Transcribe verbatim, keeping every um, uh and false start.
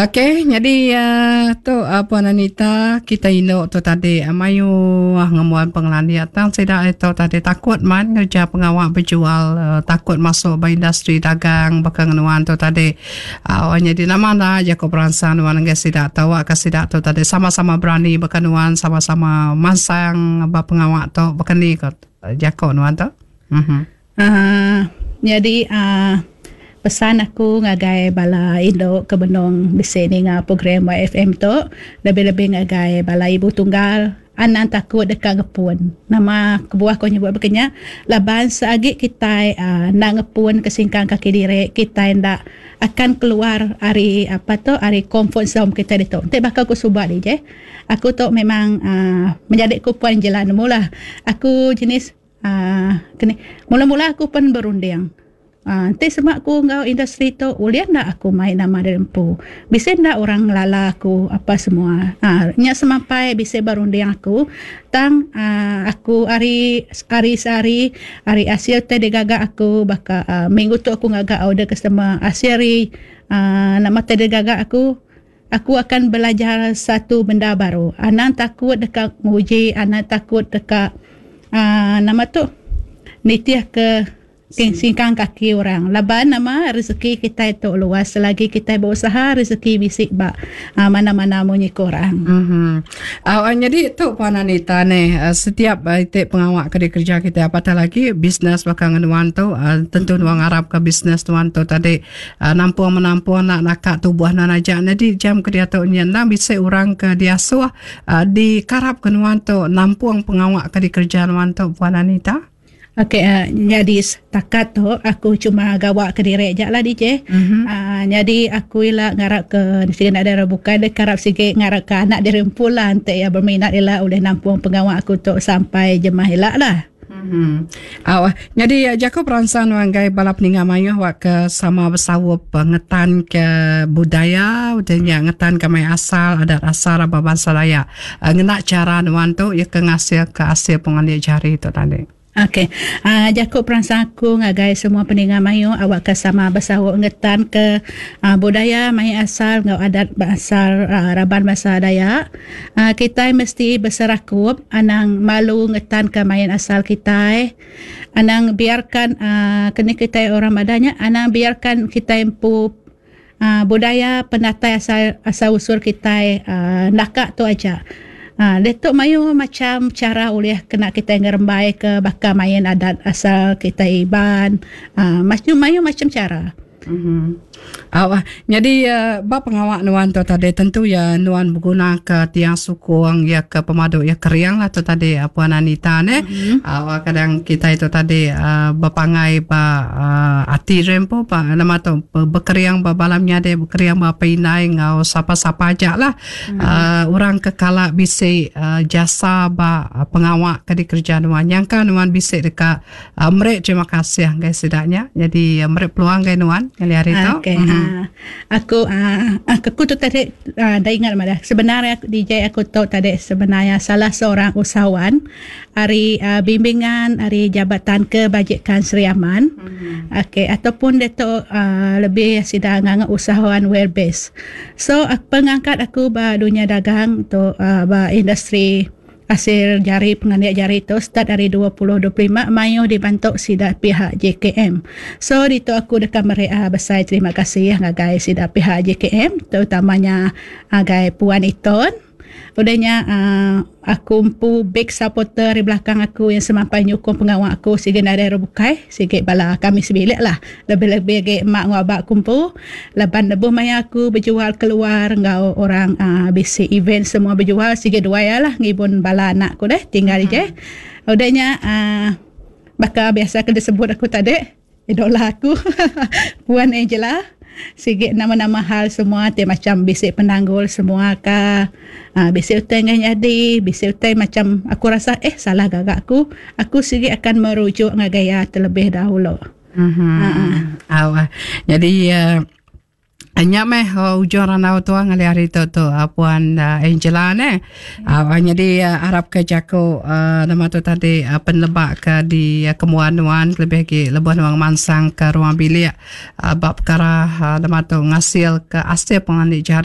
Okey, jadi uh, tu uh, Puan Anita, kita indu tu tadi uh, mayuh ngembuan pengelandik tang sida itu tadi takut man kerja pengawa berjual, uh, takut masuk ba industri dagang baka nuan tu tadi. Uh, jadi nama lah jaku peransang nuan ngagai sida tau ke sida tu tadi sama-sama berani baka nuan, sama-sama masang ba pengawa tu baka ni ko jaku nuan tu. Mhm. Uh, jadi uh, pesan aku ngagai bala indu ke benung bisi ninga program Y F M tu, lebih-lebih ngagai bala ibu tunggal, anang takut dekat ngepun. Nama kebuah ko nyebut bekenya, laban seagi kita uh, nak ngepun kesingkang kaki diri, kita ndak akan keluar ari apa tu, ari comfort zone kita itu. Nanti bakal aku subak je. Aku tu memang uh, menjadi ku puan jalan mula. Aku jenis uh, kini mula-mula aku pun berunding. Uh, nanti semak aku ngau industri tu boleh nak aku main nama dari empu. Bisa nak orang ngelala aku apa semua. Ah, uh, nyak semampai bisa berunding aku tang uh, aku hari hari sehari hari hasil teh digagak aku baka uh, minggu tu aku ngagak order customer hasil hari uh, nama teh digagak aku, aku akan belajar satu benda baru. Anang takut dekat nguji, anang takut dekat uh, nama tu nitiah ke singkang kaki orang. Laban nama rezeki kita itu luas. Selagi kita berusaha, rezeki bisik ba uh, mana-mana munyi korang. Mm-hmm. Uh, jadi tu Puan Anita ni, uh, setiap uh, itik pengawak ke kerja kita, apatah lagi bisnes bakal nuan tu, uh, tentu nuan ngarap ke bisnes nuan tu tadi uh, nampung menampung nak nakak tubuh nan aja. Jadi jam ke dia tu nyenang bisa orang ke diasuh uh, dikarap ke nuan tu nampung pengawak ke dikerja nuan tu, Puan Anita. Okey, uh, jadi setakat tu aku cuma gawak ke diri je lah D J. Mm-hmm. Uh, jadi aku ila ngarap ke sige nak ada bukan dia karap sikit ngarap ke anak diri pula nanti ya berminat ila oleh nampung pengawak aku tu sampai jemah ila lah. Hmm. Uh, jadi jaku peransang ngagai bala peninga mayuh wak ke sama besawup ngetan ke budaya udahnya ngetan ke main asal adat asal aba bangsa Dayak. Uh, ngena cara nuan tu ya ke ngasil ke hasil pengandik jari tu tadi. Okey. Uh, jaku peransang aku ngagai semua peninga mayu awak ke sama bersawuk ngetan ke uh, budaya main asal ngau adat asal uh, raban bahasa Dayak. Uh, kita mesti berserakup, anang malu ngetan ke main asal kita. Anang biarkan uh, kena kita orang madanya, anang biarkan kita empu uh, budaya penatai asal asal usul kita uh, nakak tu aja. Ha, letuk mayu macam cara oleh kena kita ngerembai ke bakal main adat asal kita Iban. Ha, macam mayu macam cara. Mm-hmm. Uh, jadi uh, bab pengawak nuan tu tadi tentu ya nuan berguna ke tiang sukung ya ke pemadu ya keriang lah tu tadi uh, Puan Anita ne. Mm-hmm. Uh, kadang kita itu tadi uh, berpangai ba uh, ati rempo pa nama tu berkeriang ba balamnya de berkeriang ba pinai ngau sapa-sapa aja lah. Mm-hmm. Uh, orang kekala bisi uh, jasa ba uh, pengawak ke di kerja nuan yang kan nuan bisi dekat uh, mereka terima kasih guys setidaknya. Jadi uh, mereka peluang guys nuan kali hari tu. Okay. Mm-hmm. Uh, aku uh, aku tu tadi uh, dah ingat malah. Sebenarnya aku, D J, aku tahu tadi sebenarnya salah seorang usahawan hari uh, bimbingan hari Jabatan Kebajikan Sri Aman. Mm-hmm. Okey, ataupun dia tu uh, lebih sidang nganggap usahawan well based. So uh, pengangkat aku ba dunia dagang tu uh, ba industri hasil jari pengandiak jari tu start dari dua ribu dua puluh lima mayu dibantu sida pihak J K M. So itu aku dekat mereka besar terima kasih ngagai sida pihak J K M, terutamanya agai Puan Iton. Udahnya uh, aku empu big supporter di belakang aku yang semampai nyukung pengawal aku sige nadai bukai sige bala kami sebilik lah, lebih-lebih ge mak ngau abak kumpu laban lebuh maya aku berjual keluar ngau orang uh, B C event semua berjual sige dua ya lah ngibun bala anak ku deh tinggal hmm. je. Udahnya uh, bakal biasa ke disebut aku tadi idola aku Puan Angela sikit nama-nama hal semua ti macam bisik penanggul semua ka uh, bisik utai ngan jadi bisik utai macam aku rasa eh salah gagak aku aku sikit akan merujuk ngagai ya terlebih dahulu. Mhm. Uh-huh. Uh, jadi uh, Anya meh uh, ujung ranau tu ngali hari tu tu uh, Puan uh, Angela ne. Uh, jadi uh, harap ke jaku uh, nama tu tadi uh, penebak ke di uh, kemuan nuan lebih lagi lebuh nuang mansang ke ruang bilik uh, bab perkara uh, nama tu ngasil ke asil pengandi jari.